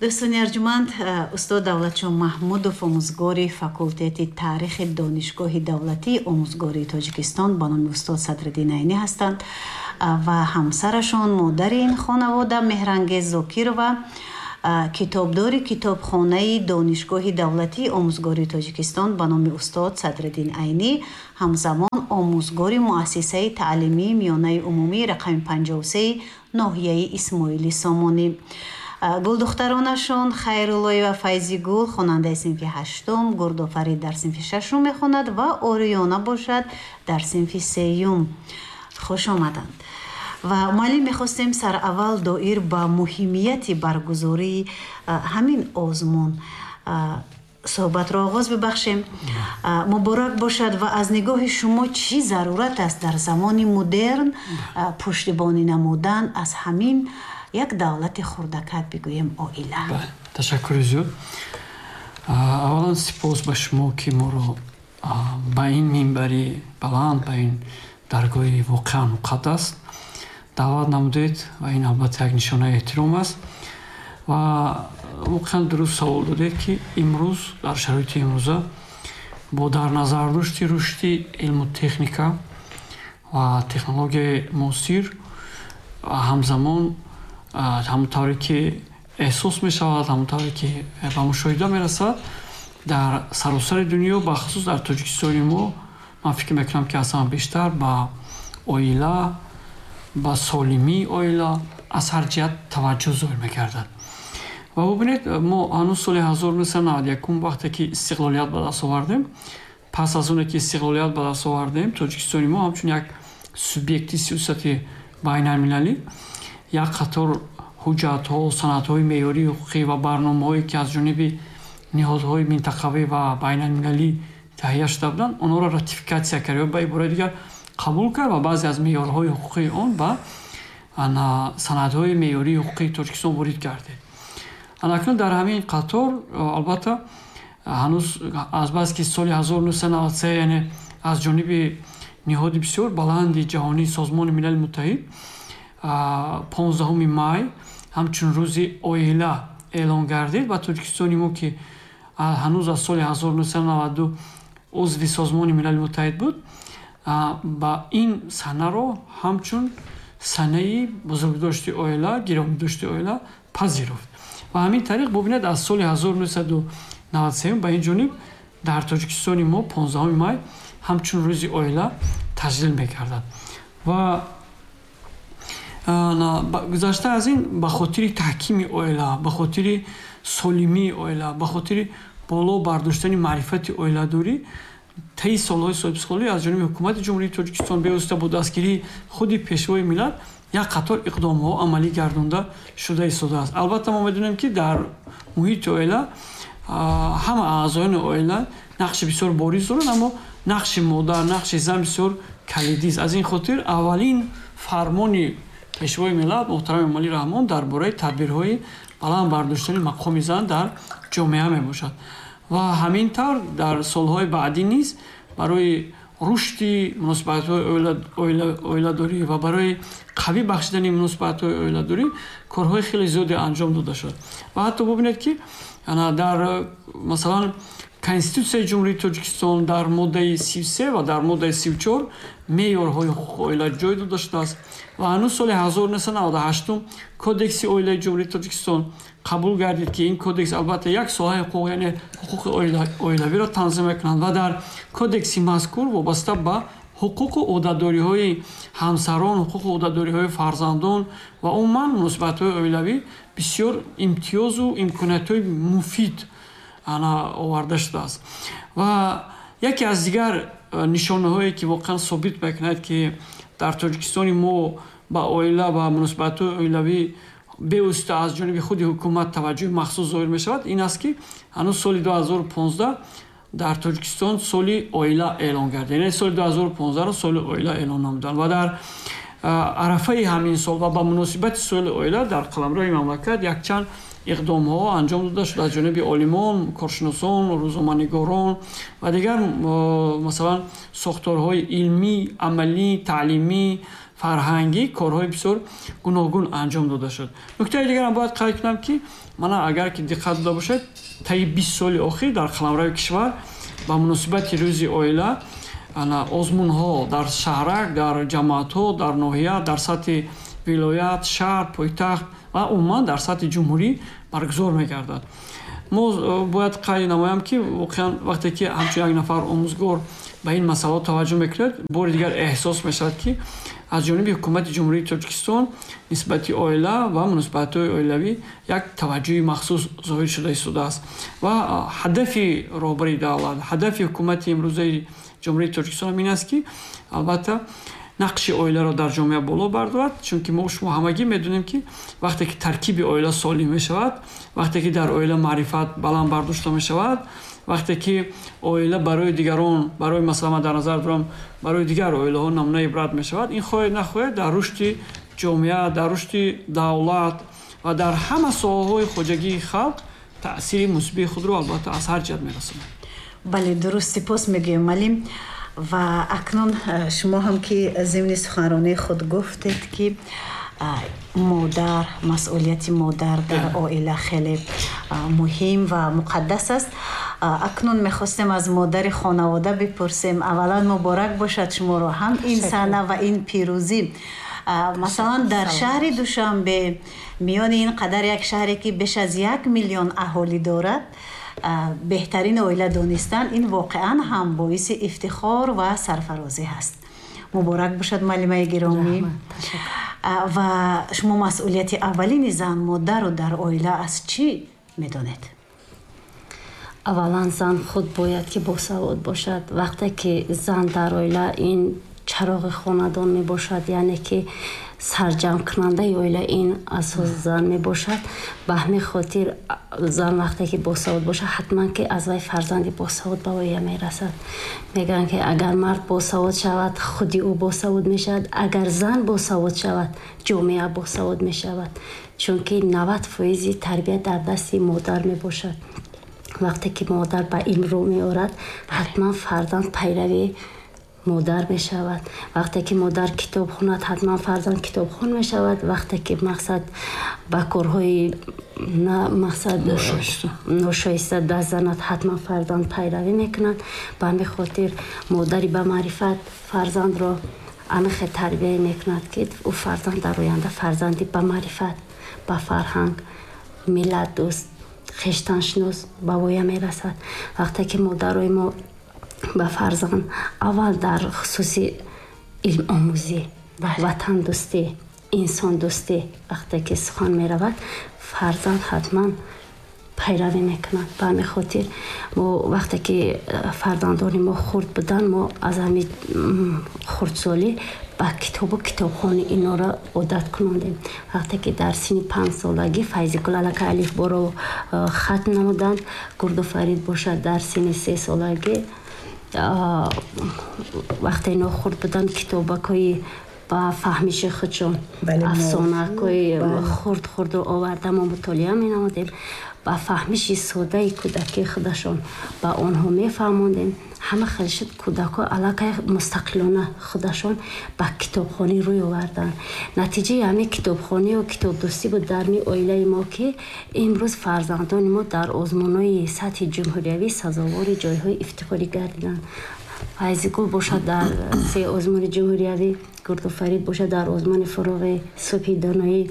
Дӯстони арҷуманд, устод Давлатшо Маҳмудов, омӯзгори факултети таърихи Донишгоҳи давлатии омӯзгории Тоҷикистон ба номи устод Садриддин Айнӣ ҳастанд ва ҳамсарашон, модари ин хонавода, Меҳрангез Зокирова, китобдори китобхонаи Донишгоҳи давлатии омӯзгории Тоҷикистон ба номи устод Садриддин Айнӣ, ҳамзамон омӯзгори муассисаи таълимии миёнаи умумии рақами 53 ноҳияи Исмоили Сомонӣ. Гулдухтаронашон Хайруллоева Файзигул, хонандаи синфи ҳаштум, Гурдофарид дар синфи шашум мехонад ва Ориёна бошад дар синфи сеюм. Хуш омаданд. Ва муаллим, мехостем сараввал доир ба муҳимияти баргузории ҳамин озмун суҳбатро оғоз бибахшем. Муборак бошад, ва аз нигоҳи шумо чӣ зарурат аст дар замони мудерн пуштибонӣ намудан аз ҳамин як давлати хурдакак, бигӯем, оила? Ташаккури зиёд. Аввалан, сипос ба шумо, ки моро ба ин минбари баланд, ба ин даргоҳи воқеан муқаддас даъват намудед, ва ин албатта як нишонаи эҳтиром аст. Ва воқеан дуруст савол додед, ки имрӯз, дар шароити имрӯза, бо дар назардошти рушди илму техника ва технологияи муосир, ҳамзамон ҳамон тавре ки эҳсос мешавад, ҳамон тавре ки ба мушоҳида мерасад, дар саросари дунё, бахусус дар Тоҷикистони мо, ман фикр мекунам, ки аз ҳама бештар ба оила, ба солимии оила аз ҳар ҷиҳат таваҷҷӯҳ зоҳир мегардад. Ва бубинед, мо ҳанӯз соли 1991, вақте ки истиқлолият ба даст овардем, пас аз оне ки истиқлолият ба даст овардем, Тоҷикистони мо ҳамчун як субъекти сиёсати байналмилалӣ як қатор ҳуҷҷатҳо, санадҳои меъёрии ҳуқуқӣ ва барномаҳое, ки аз ҷониби ниҳодҳои минтақавӣ ва байналмилалӣ таҳия шуда буданд, онҳоро ратификатсия кард ё ба ибораи дигар қабул кард ва баъзе аз меъёрҳои ҳуқуқии он ба санадҳои меъёрии ҳуқуқии Тоҷикистон ворид гардид. Анакнун дар ҳамин қатор, албатта, ҳанӯз азбаски соли 1993, яъне аз ҷониби ниҳоди бисёр баланди ҷаҳонии Созмони Милали Муттаҳид 15 май ҳамчун рӯзи оила эълон гардид ва Тоҷикистони мо, ки ҳанӯз аз соли 1992 узви Созмони Милали Муттаҳид буд, ба ин санаро ҳамчун санаи бузургдошти оила, гиромидошти оила пазируфт. Ва ҳамин тариқ, бубинед, аз соли 1993 ба ин ҷониб дар Тоҷикистони мо 15 май ҳамчун рӯзи оила таҷлил мегардад. Ва гузашта аз ин, ба хотири таҳкими оила, ба хотири солимии оила, ба хотири боло бардоштани маърифати оиладорӣ, таи солҳои соҳибистиқлолӣ аз ҷониби ҳукумати Ҷумҳурии Тоҷикистон, бевосита бо дастгирии худи Пешвои миллат, як қатор иқдомҳо амалӣ гардонда шуда истодааст. Албатта, мо медонем, ки дар муҳити оила ҳама аъзоёни оила нақши бисёр бориз доранд, аммо нақши модар, нақши зан бисёр калидист. Аз ин хотир аввалин фармони Пешвои миллат муҳтарам Эмомалӣ Раҳмон дар бораи тадбирҳои баланд бардоштани мақоми зан дар ҷомеа мебошад. Ва ҳамин тавр дар солҳои баъдӣ низ барои рушди муносибатҳои оиладорӣ ва барои қавӣ бахшидани муносибатҳои оиладорӣ корҳои хеле зиёде анҷом дода шуд. Ва ҳатто бубинед, ки дар, масалан, Конститутсияи Ҷумҳурии Тоҷикистон дар моддаи 33 ва дар моддаи 34 меъёрҳои ҳуқуқи оила ҷой дода шудааст. Ва ҳанӯз соли 1998 Кодекси оилаи Ҷумҳурии Тоҷикистон қабул гардид, ки ин кодекс албатта як соҳаи ҳуқуқ, яъне ҳуқуқи оилавиро танзим мекунад. Ва дар кодекси мазкур вобаста ба ҳуқуқу ӯҳдадориҳои ҳамсарон, ҳуқуқу ӯҳдадориҳои фарзандон ва умуман муносибатҳои оилавӣ бисёр имтиёзу имкониятҳои муфид ана оварда шудааст. Ва яке аз дигар нишонаҳое, ки воқеан собит мекунад, ки дар Тоҷикистони мо ба оила ва муносибатҳои оилавӣ бевосита аз ҷониби худи ҳукумат таваҷҷӯҳи махсус зоҳир мешавад, ин аст, ки ҳанӯз соли 2015 дар Тоҷикистон соли оила эълон гардид, яъне соли 2015-ро соли оила эълон намуданд. Ва дар арафаи ҳамин сол ва ба муносибати соли оила дар қаламрави мамлакат якчанд иқдомҳо анҷом дода шуд аз ҷониби олимон, коршиносон, рӯзноманигорон ва дигар, масалан, сохторҳои илмӣ, амалӣ, таълимӣ, фарҳангӣ корҳои бисёр гуногун анҷом дода шуд. Нуктаи дигарам бояд қайд кунам, ки мана агар ки диққат дода бошед, таи 20 соли охир дар қаламрави кишвар ба муносибати рӯзи оила озмунҳо дар шаҳрак, дар ҷамоатҳо, дар ноҳия, дар сатҳи вилоят, шаҳр, пойтахт ва умуман дар сатҳи ҷумҳурӣ баргузор мегардад. Мо бояд қайд намоям, ки воқеан вақте ки ҳамчун як нафар омӯзгор ба ин масъалаҳо таваҷҷӯҳ мекунад, бори дигар эҳсос мешавад, ки аз ҷониби ҳукумати Ҷумҳурии Тоҷикистон нисбати оила ва муносибатҳои оилавӣ як таваҷҷӯҳи махсус зоҳир шуда истодааст ва ҳадафи роҳбари давлат, ҳадафи ҳукумати имрӯзаи Ҷумҳурии Тоҷикистон ин аст, ки албатта нақши оиларо дар ҷомеа боло бардорад, чунки мо шумо ҳамагӣ медонем, ки вақте ки таркиби оила солим мешавад, вақте ки дар оила маърифат баланд бардошта мешавад, вақте ки оила барои дигарон, барои масалан ман дар назар дорам, барои дигар оилаҳо намунаи ибрат мешавад, ин хоҳед нахоҳед дар рушди ҷомеа, дар рушди давлат ва дар ҳама соҳаҳои хоҷагии халқ таъсири мусбии худро албатта аз ҳар ҷиҳат мерасонад. Бале, дуруст, сипос мегӯем, малим. Ва акнун шумо ҳам ки зимни суханронии худ гуфтед, ки модар, масъулияти модар дар оила хеле муҳим ва муқаддас аст. Акнун мехостем аз модари хонавода бипурсем. Аввалан муборак бошад шуморо ҳам ин саҳна ва ин пирӯзӣ. Масалан, дар шаҳри Душанбе, миёни ин қадар як шаҳре ки беш аз 1 миллион аҳолӣ дорад, беҳтарин оила донистан ин воқеан ҳам боиси ифтихор ва сарфарозӣ ҳаст. Муборак бошад, муаллимаи гиромӣ. Ва шумо масъулияти аввалини зан модарро дар оила аз чӣ медонед? Аввалан зан худ бояд ки босавод бошад. Вақте ки зан дар оила ин чароғи хонадон мебошад, яъне ки сарҷамъкунандаи оила ин асос зан мебошад. Ба ҳамин хотир зан вақте ки босавод бошад, ҳатман ки аз вай фарзанди босавод ба оя мерасад. Мегӯянд, ки агар мард босавод шавад, худи ӯ босавод мешавад, агар зан босавод шавад, ҷомеа босавод мешавад, чунки 90 фоизи тарбия дар дасти модар мебошад. Вақте ки модар ба илм рӯ меорад, ҳатман фарзанд пайрави модар мешавад. Вақте ки модар китоб хонад, ҳатман фарзанд китобхон мешавад. Вақте ки мақсад ба корҳои мақсад ношоиста даст занад, ҳатман фарзанд пайравӣ мекунад. Ба ҳамин хотир модари ба маърифат фарзандро ҳамин тарбия мекунад, ки ӯ фарзанд дар оянда фарзанди ба маърифат, ба фарҳанг, миллатдӯст, хештаншинос ба воя мерасад. Вақте ки модарои мо ба фарзанд аввал дар хусуси илмомӯзӣ, ватандӯстӣ, инсондӯстӣ вақте ки сухан меравад, фарзанд ҳатман пайравӣ мекунад. Ба ҳамин хотир мо вақте ки фарзандони мо хурд буданд, мо аз ҳамин хурдсолӣ ба китобу китобхонӣ инора одат кунондем. Вақте ки дар синни 5 солагӣ Файзигул аллакай алифборо хатм намуданд, Гурдуфарид бошад дар синни 3 солагӣ, вақте ино хурд буданд, китобакҳои ба фаҳмиши худшон, афсонакҳои хурд хурдро оварда мо мутолиа менамудем, ба фаҳмиши содаи кӯдакии худашон ба онҳо мефаҳмондем. Ҳама хел шуд, кӯдакҳо аллакай мустақилона худашон ба китобхонӣ рӯй оварданд. Натиҷаи ҳамин китобхонию китобдӯстӣ буд дар ми оилаи мо, ки имрӯз фарзандони мо дар озмунҳои сатҳи ҷумҳуриявӣ сазовори ҷойҳои ифтихорӣ гардиданд. Файзигул бошад дар се озмуни ҷумҳуриявӣ, Гурдуфарид бошад дар озмуни «Фуруғи субҳи доноӣ»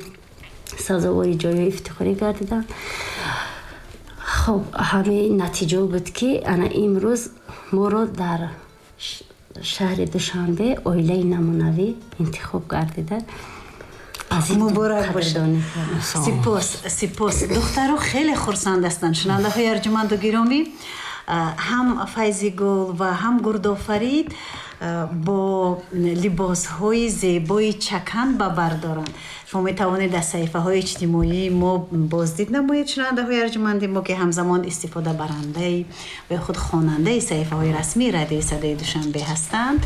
сазовори ҷойҳои ифтихорӣ гардиданд. Хуб, ҳамин натиҷао буд, ки ана имрӯз моро дар шаҳри Душанбе оилаи намунавӣ интихоб гардида. Муборак бошад, сипос, сипос. Духтаро хеле хурсанд ҳастанд. Шунавандаҳои арҷуманду гиромӣ, ҳам Файзигул ва ҳам Гурдофарид бо либосҳои зебои чакан ба бар доранд. Шумо метавонед аз саҳифаҳои иҷтимоии мо боздид намоед, шунавандаҳои арҷуманди мо, ки ҳамзамон истифодабарандаи ва худ хонандаи саҳифаҳои расмии Радиои Садои Душанбе ҳастанд.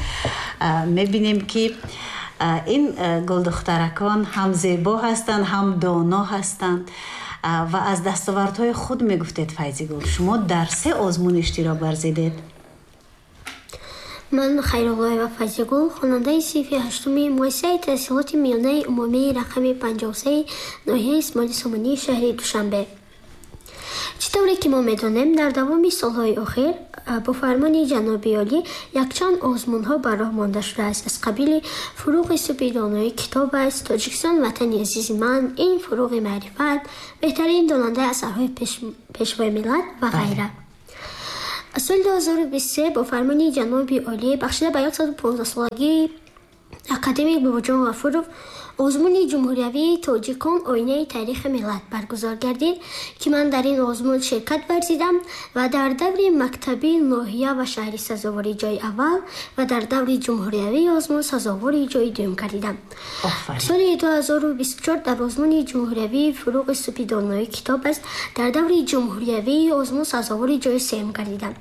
Мебинем, ки ин гулдухтаракон ҳам зебо ҳастанд, ҳам доно ҳастанд. Ва аз дастовардҳои худ мегуфтед, Файзигул, шумо дар се озмун иштирок варзидед. Ман Хайруллоева Файзигул, хонандаи синфи ҳаштуми муассисаи таҳсилоти миёнаи умумии рақами 53 ноҳияи Исмоили Сомонии шаҳри Душанбе. Чӣ тавре ки мо медонем, дар давоми солҳои охир бо фармони ҷаноби олӣ якчанд озмунҳо ба роҳ монда шудааст, аз қабили «Фурӯғи субҳи донои китоб аст», «Тоҷикистон ватани азизи ман», ин «Фурӯғи маърифат», «Беҳтарин донандаи асарҳои пешвои миллат» ва ғайра. Соли 2023 бо фармони ҷаноби олӣ бахшида ба 115-солагии академик Бобоҷон Ғафуров озмуни ҷумҳуриявии «Тоҷикон оинаи таърихи миллат» баргузор гардид, ки ман дар ин озмун ширкат варзидам ва дар даври мактабии ноҳия ва шаҳри сазовори ҷои аввал ва дар даври ҷумҳуриявии озмун сазовори ҷои дуюм гардидам. Соли 2024 дар озмуни ҷумҳуриявии «Фурӯғи субҳи донои китоб аст» дар даври ҷумҳуриявии озмун сазовори ҷои сеюм гардидам.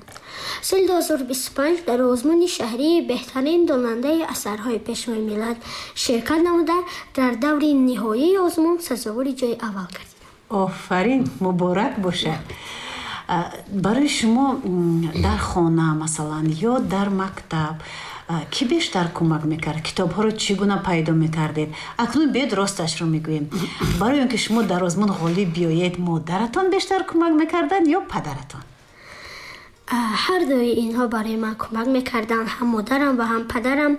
Соли 2025 дар озмуни шаҳрии «Беҳтарин донандаи асарҳои пешвои миллат» ширкат намуда, дар даври ниҳоии озмун сазовори ҷои аввал гардидам. Офарин, муборак бошад. Барои шумо дар хона, масалан, ё дар мактаб кӣ бештар кӯмак мекард? Китобҳоро чӣ гуна пайдо мекардед? Акнун биёед росташро мегӯем. Барои он ки шумо дар озмун ғолиб биёед, модаратон бештар кӯмак мекарданд ё падаратон? Ҳар дуи инҳо барои ман кӯмак мекарданд, ҳам модарам ва ҳам падарам.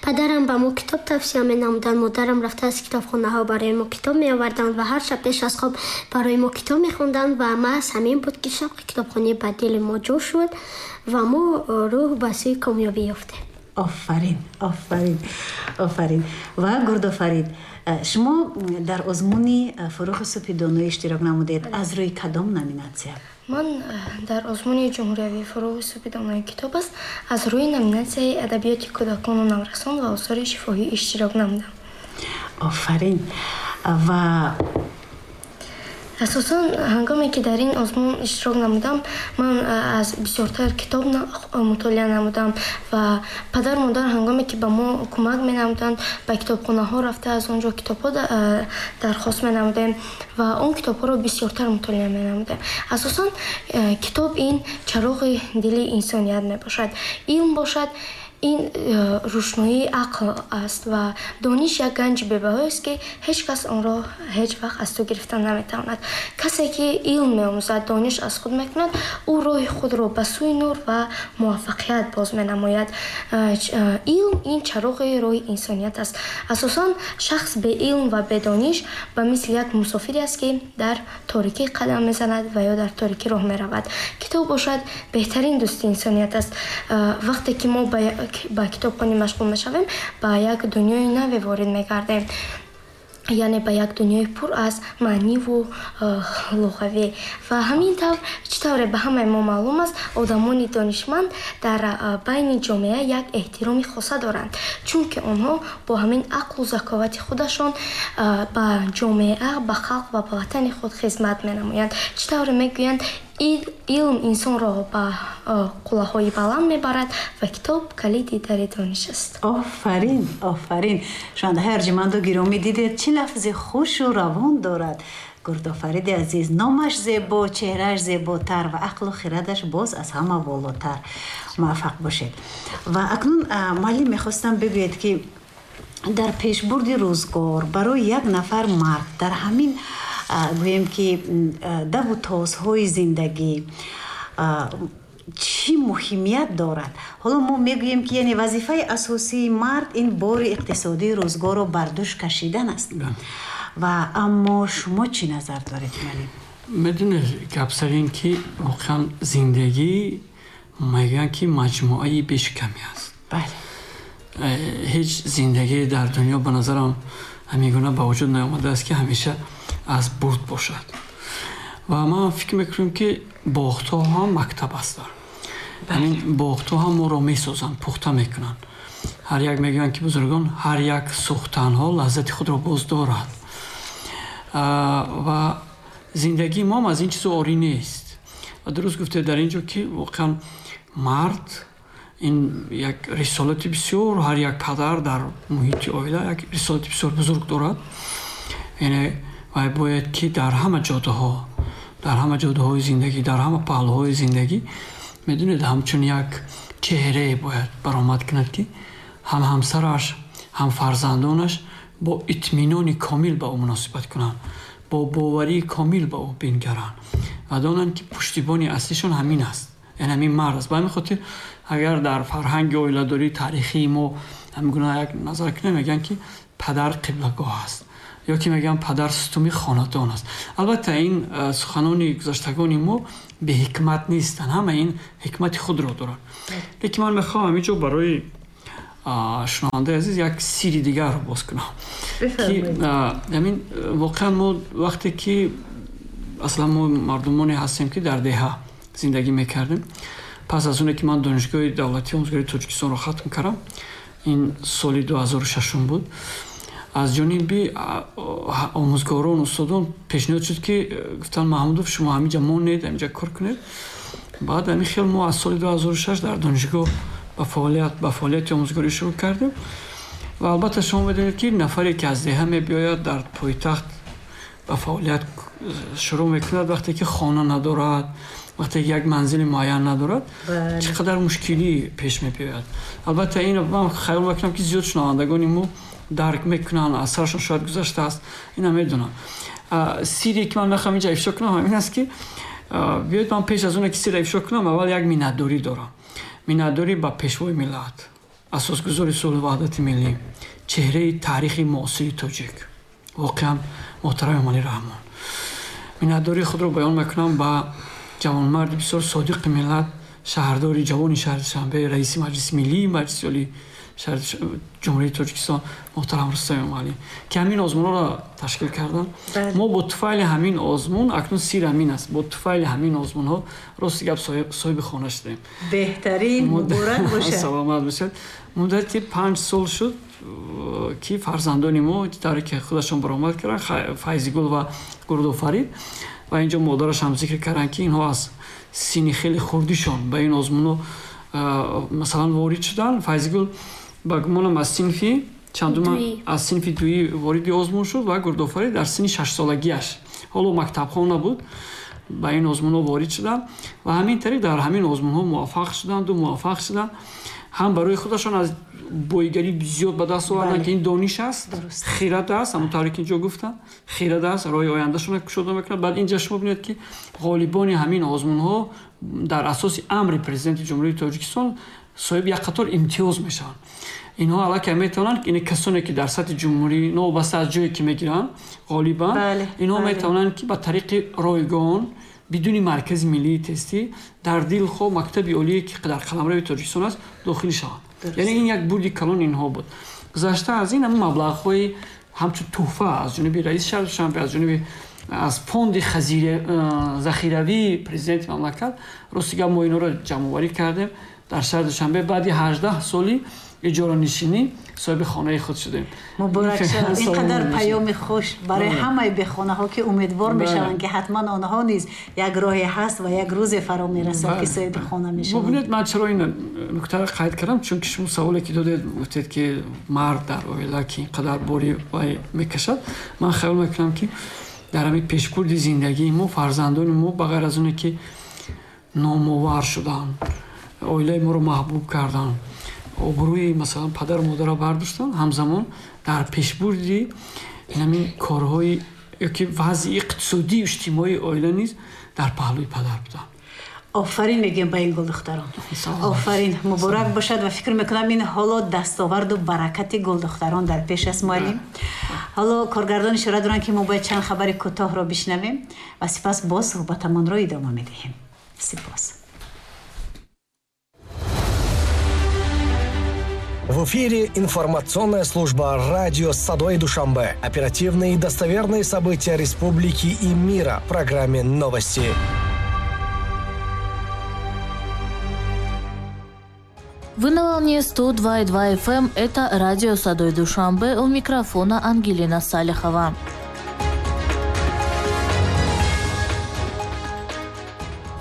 Падарам ба мо китоб тавсия менамуданд, модарам рафта аз китобхонаҳо барои мо китоб меоварданд ва ҳар шаб пеш аз хоб барои мо китоб мехонданд ва маҳз ҳамин буд, ки шавқи китобхонӣ ба дили мо ҷо шуд ва мо рӯҳ ба сӯи комёбӣ ёфтем. Офарин, офарин, офарин. Ва Гурдофарид, шумо дар озмуни «Фурӯғи субҳи доноӣ» иштирок намудед. Аз рӯи кадом номинатсия? Ман дар озмуни ҷумҳуриявии «Фурӯғи субҳи донои китоб аст» аз рӯи номинатсияи адабиёти кӯдакону наврасон ва осори шифоҳӣ иштирок намудам. Офарин. Ва асосан ҳангоме ки дар ин озмун иштирок намудам, ман аз бисёртар китоб мутолиа намудам ва падару модар ҳангоме ки ба мо кӯмак менамуданд, ба китобхонаҳо рафта аз он ҷо китобҳо дархост менамудем ва он китобҳоро бисёртар мутолиа менамудем. Асосан китоб ин чароғи дили инсоният мебошад, илм бошад ин рӯшноии ақл аст ва дониш як ганҷи бебаҳоест, ки ҳеҷ кас онро ҳеҷ вақт аз ту гирифта наметавонад. Касе ки илм меомӯзад, дониш аз худ мекунад, ӯ роҳи худро ба сӯи нур ва муваффақият боз менамояд. Илм ин чароғи роҳи инсоният аст. Асосан шахс беилм ва бедониш ба мисли як мусофире аст, ки дар торикӣ қадам мезанад ва ё дар торикӣ роҳ меравад. Китоб бошад беҳтарин дӯсти инсоният аст. Вақте ки мо ба китобхонӣ машғул мешавем, ба як дунёи наве ворид мегардем, яъне ба як дунёи пур аз маъниву луғавӣ. Ва ҳамин тавр, чӣ тавре ба ҳамаи мо маълум аст, одамони донишманд дар байни ҷомеа як эҳтироми хоса доранд, чунки онҳо бо ҳамин ақлу заковати худашон ба ҷомеа, ба халқ ва ба ватани худ хизмат менамоянд. Чӣ тавре мегӯянд, илм инсонро ба қуллаҳои баланд мебарад ва китоб калиди дари дониш аст. Офарин, офарин. Шунавандаҳои арҷуманду гиромӣ, дидед, чӣ лафзи хушу равон дорад Гурдофариди азиз. Номаш зебо, чеҳрааш зеботар ва ақлу хирадаш боз аз ҳама болотар. Муваффақ бошед. Ва акнун, муаллим, мехостам бигӯед, ки дар пешбурди рӯзгор барои як нафар мард дар ҳамин, гӯем ки, даву тозҳои зиндагӣ чӣ муҳимият дорад? Ҳоло мо мегӯем, ки яъне вазифаи асосии мард ин бори иқтисодии рӯзгорро бар дӯш кашидан аст. Ва аммо шумо чӣ назар доред, муаллим? Медонед, гап сар ин ки воқеан зиндагӣ, мегӯянд, ки маҷмӯаи бешикамӣ аст. Ҳеҷ зиндагие дар дунё, ба назарам, ҳамин гуна ба вуҷуд наомадааст, ки ҳамеша аз бурд бошад. Ва ман фикр мекунам, ки бохтҳо ҳам мактаб ҳастанд. Ҳамин бохтҳо ҳам моро месозанд, пухта мекунанд. Ҳар як, мегӯянд, ки бузургон, ҳар як сӯхтанҳо лаззати худро боз дорад. Ва зиндагии моам аз ин чизо орӣ нест. Ва дуруст гуфтед дар ин ҷо, ки воқеан мард ин як рисолати бисёр, ҳар як падар дар муҳити оила як рисолати бисёр бузург дорад. Яъне вай бояд ки дар ҳама ҷодаҳо, дар ҳама ҷодаҳои зиндагӣ, дар ҳама паҳлӯҳои зиндагӣ Медонед, ҳамчун як чеҳрае бояд баромад кунад, ки ҳам ҳамсараш, ҳам фарзандонаш бо итминони комил ба ӯ муносибат кунанд, бо боварии комил ба ӯ бингаранд ва донанд, ки пуштибони аслишон ҳамин аст, яъне ҳамин мард аст. Ба ҳамин хотир, агар дар фарҳанги оиладории таърихии мо ҳамин гуна як назар кунем, мегӯянд, ки падар қиблагоҳ аст, ё ки мегӯянд падар сутуни хонадон аст. Албатта, ин суханони гузаштагони мо беҳикмат нестанд, ҳама ин ҳикмати худро доранд. Лекин ман мехоҳам ҳамин ҷо барои шунавандаи азиз як сирри дигарро боз кунам, ки ҳамин воқеан мо вақте ки аслан мо мардумоне ҳастем, ки дар деҳа зиндагӣ мекардем, пас аз оне ки ман Донишгоҳи давлатии омӯзгории Тоҷикистонро хатм кардам, ин соли 2006 буд, аз ҷониби омӯзгорон, устодон пешниҳод шуд, ки гуфтанд: «Маҳмудов, шумо ҳаминҷа монед, ҳаминҷа кор кунед». Баъд ҳамин хел мо аз соли 2006 дар донишгоҳ ба фаъолияти омӯзгорӣ шурӯъ кардем. Ва албатта, шумо медонед, ки нафаре ки аз деҳа мебиёяд, дар пойтахт ба фаъолият шурӯъ мекунад, вақте ки хона надорад, вақте ки як манзили муайян надорад, чӣ қадар мушкилӣ пеш мебиёяд. Албатта, ин ман хаёл мекунам, ки зиёд шунавандагони мо дарк мекунанд, аз сарашон шояд гузаштааст, ина медонам. Сирре ки ман мехоҳам инҷа ифшо кунам, ҳамин аст, ки биёед, ман пеш аз оне ки сирра ифшо кунам, аввал як миннатдорӣ дорам, миннатдорӣ ба Пешвои миллат, асосгузори сулҳу ваҳдати миллӣ, чеҳраи таърихи муосири тоҷик, воқеан муҳтарам Эмомалӣ Раҳмон. Миннатдории худро баён мекунам ба ҷавонмарди бисёр содиқи миллат, шаҳрдори ҷавони шаҳри Душанбе, раиси Маҷлиси миллии Маҷлиси Олии шаҳри Ҷумҳурии Тоҷикистон муҳтарам Рустам Эмомалӣ, ки ҳамин озмунҳоро ташкил карданд. Мо бо туфайли ҳамин озмун, акнун сир ҳамин аст, бо туфайли ҳамин озмунҳо, рости гап, соҳиби хона шудем. Беҳтарин, муборак бошад. Саломат бошад. Муддати 5 сол шуд, ки фарзандони мо тавре ки худашон баромад карданд, Файзигул ва Гурдофарид, ва инҷо модараш ҳам зикр карданд, ки инҳо аз синни хеле хурдишон ба ин озмунҳо масалан ворид шуданд. Файзигул, ба гумонам, аз синфи чандума, аз синфи дуӣ вориди озмун шуд ва Гурдофарид дар синни шашсолагиаш, ҳоло мактабхон набуд, ба ин озмунҳо ворид шуданд ва ҳамин тариқ дар ҳамин озмунҳо муваффақ шуданду муваффақ шуданд, ҳам барои худашон аз боигарӣ зиёд ба даст оварданд, ки ин дониш аст, хирад аст, ҳамон тавре ки инҷо гуфтам, хирад аст, роҳи ояндашонро кушода мекунад. Баъд инҷа шумо бинед, ки ғолибони ҳамин озмунҳо дар асоси амри Президенти Ҷумҳурии Тоҷикистон соҳиби як қатор имтиёз мешаванд. Инҳо аллакай метавонанд, ин касоне ки дар сатҳи ҷумҳурӣ, новобаста аз ҷое ки мегиранд, ғолибанд, инҳо метавонанд, ки ба тариқи ройгон, бидуни Маркази миллии тестӣ, дар дилхоҳ мактаби олие, ки дар қаламрави Тоҷикистон аст, дохил шаванд. Яъне ин як бурди калон инҳо буд. Гузашта аз ин, ҳамин маблағҳои ҳамчун тӯҳфа аз ҷониби раиси шаҳри Душанбе, аз ҷониби аз фонди захиравии президенти мамлакат, рости гап, мо инҳоро ҷамъоварӣ кардем, дар шаҳри Душанбе баъди 18 соли иҷоранишинӣ соҳиби хонаи худ шудем. Муборак шавад! Ин қадар паёми хуш барои ҳамаи бехонаҳо, ки умедвор мешаванд, ки ҳатман онҳо низ як роҳе ҳаст ва як рӯзе фаро мерасад, ки соҳиби хона мешаванд. Бубинед, ман чаро ин нуктаро қайд кардам? Чунки шумо саволе ки додед, гуфтед, ки мард дар оила ки ин қадар бори вай мекашад. Ман хаёл мекунам, ки дар ҳамин пешбурди зиндагии мо фарзандони мо, ба ғайр аз оне ки номовар шуданд, оилаи моро маҳбуб карданд, обрӯи масалан падару модарро бардоштанд, ҳамзамон дар пешбурди ҳамин корҳои ёки вазъи иқтисодию иҷтимоии оила низ дар паҳлӯи падар буданд. Офарин мегӯем ба ин гулдухтарон, офарин, муборак бошад! Ва фикр мекунам, ин ҳоло дастоварду баракати гулдухтарон дар пеш аст. Муаллим, ҳоло коргардон ишора доранд, ки мо бояд чанд хабари кӯтоҳро бишнавем ва сипас боз суҳбатамонро идома медиҳем. Сипос. В эфире информационная служба радио «Садои Душанбе». Оперативные и достоверные события республики и мира в программе «Новости». Вы на волне 102,2 FM. Это радио «Садои Душанбе». У микрофона Ангелина Салихова.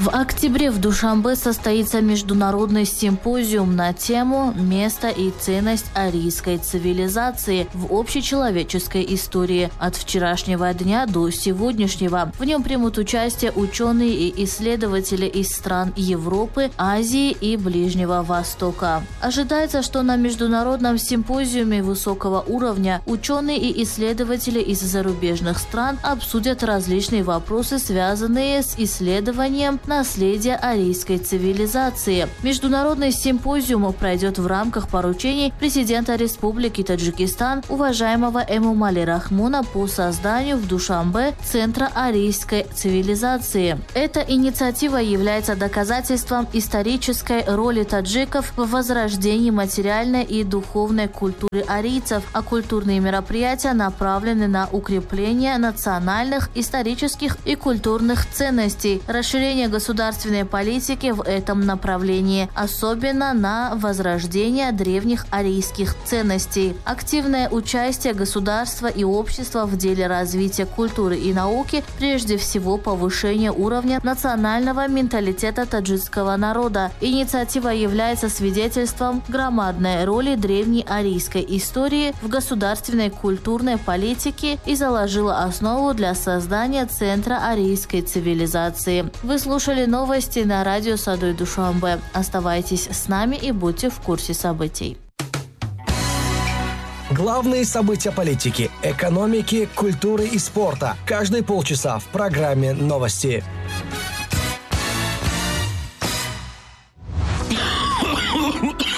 В октябре в Душанбе состоится международный симпозиум на тему «Место и ценность арийской цивилизации в общечеловеческой истории от вчерашнего дня до сегодняшнего». В нем примут участие ученые и исследователи из стран Европы, Азии и Ближнего Востока. Ожидается, что на международном симпозиуме высокого уровня ученые и исследователи из зарубежных стран обсудят различные вопросы, связанные с исследованием наследия арийской цивилизации. Международный симпозиум пройдет в рамках поручений президента Республики Таджикистан уважаемого Эмомали Рахмона по созданию в Душанбе Центра арийской цивилизации. Эта инициатива является доказательством исторической роли таджиков в возрождении материальной и духовной культуры арийцев, а культурные мероприятия направлены на укрепление национальных, исторических и культурных ценностей, расширение государственной политики в этом направлении, особенно на возрождение древних арийских ценностей. Активное участие государства и общества в деле развития культуры и науки, прежде всего повышение уровня национального менталитета таджикского народа. Инициатива является свидетельством громадной роли древней арийской истории в государственной культурной политике и заложила основу для создания Центра арийской цивилизации. Вы слушали новости на радио Садои Душанбе. Оставайтесь с нами и будьте в курсе событий. Главные события политики, экономики, культуры и спорта. Каждые полчаса в программе «Новости».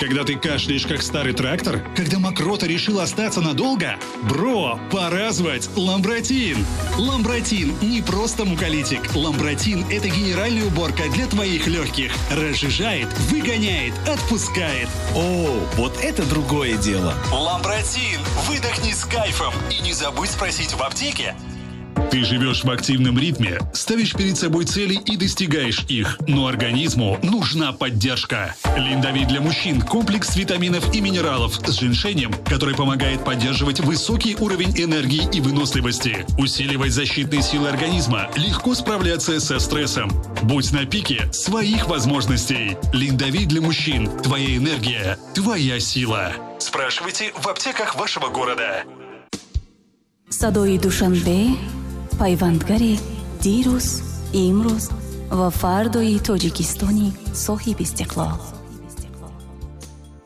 Когда ты кашляешь, как старый трактор? Когда мокрота решила остаться надолго? Бро, пора звать Ламбратин! Ламбратин не просто муколитик. Ламбратин – это генеральная уборка для твоих легких. Разжижает, выгоняет, отпускает. О, вот это другое дело. Ламбратин! Выдохни с кайфом и не забудь спросить в аптеке. Ты живешь в активном ритме, ставишь перед собой цели и достигаешь их, но организму нужна поддержка. Линдовит для мужчин – комплекс витаминов и минералов с женьшенем, который помогает поддерживать высокий уровень энергии и выносливости, усиливать защитные силы организма, легко справляться со стрессом. Будь на пике своих возможностей. Линдовит для мужчин – твоя энергия, твоя сила. Спрашивайте в аптеках вашего города. Садои Душанбе пайвандгари дирӯз, имрӯз ва фардои Тоҷикистони соҳиби истиқлол.